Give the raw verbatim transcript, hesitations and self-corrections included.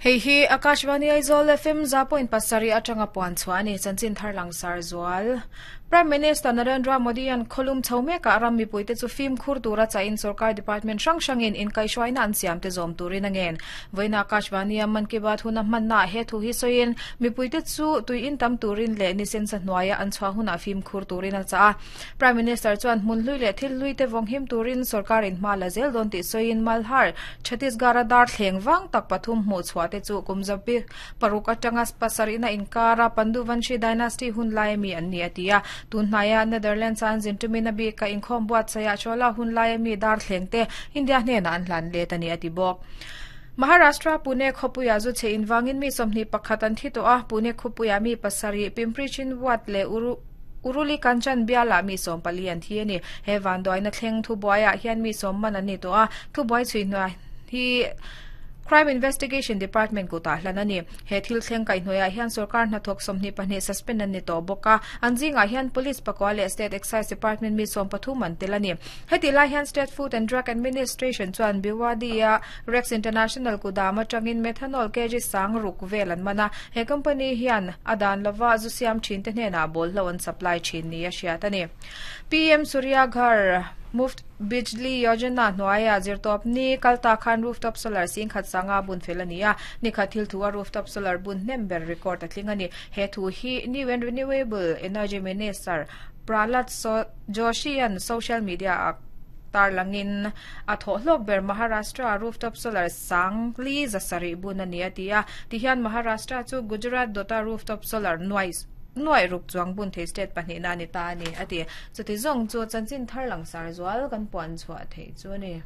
Hei hi Akashvani Aizawl F M za point pasarih atanga puan chhuah a ni. Chanchin thar langsar zual. Prime Minister Narendra Modi an kholum chho mekah ram mipuite chu fim khur tura chain sarkar department hrang hrangin inkaihhruaina an siam te zawm turin a ngen. Vawiina Akashvani a Mann Ki Baat huna hmanna he thu hi sawiin mipuite chu tui in tam turin leh nisen sa hnuaia an chhuah huna fim khur turin a cha a. Prime Minister chuan hmun hlui leh thil hlui te vawng him turin sarkar in hma la zel dawn tih sawiin Malhar Chhattisgarh dar thleng wang tak pathum hmuh chhuah te chu kumzabi paruk atanga pasarihna inkara Panduvanshi dynasty hun lai mi an ni atia tunhnaya Netherlands an zintumina bi ka inkhawm buat saya chola hun lai mi dar thleng te India hnena an hlan let ani ati bawk. Maharashtra Pune khopuya zu che inwangin mi somni pakhat an thi to a Pune khopuya mi pasari Pimpri Chinchwad le uru Uruli Kanchan biala mi som pali an thi ani he van doina thleng thu boya hian mi som man ani to a thu boi chui hnuai hi Crime Investigation Department ko ta hlan ani he thil thleng kai hnuaia hian sarkar hna thawk sawmhnih pahnih suspend an ni tawh bawk a an zingah hian police pakua leh State Excise Department mi sawm pathum an tel ani heti lai hian State Food and Drug Administration chuan Bhiwadi Rex International kudam atangin methanol kg sang ruk vel an mana he company hian adan lova zu siam thin te hnena bol lo an supply thin ni a hriat ani P M Surya Ghar Muft Bijli Yojana hnuaia zirtawp ni kalta khan rooftop solar sing khat sanga bun fel ani a ni khat thil thu a rooftop solar bun hnem ber record a tling ani he thu hi New and Renewable Energy Minister Prahlad Joshi an social media a tarlangin a tho hlok ber Maharashtra rooftop solar sang li zasari bun ani atia tihian Maharashtra chu Gujarat dota rooftop solar noise noi ruk chuang bun the state pahnih na ni ta ani ati chuti zong chu chanchin thar langsar zual kan puan chhuah thei chu ani.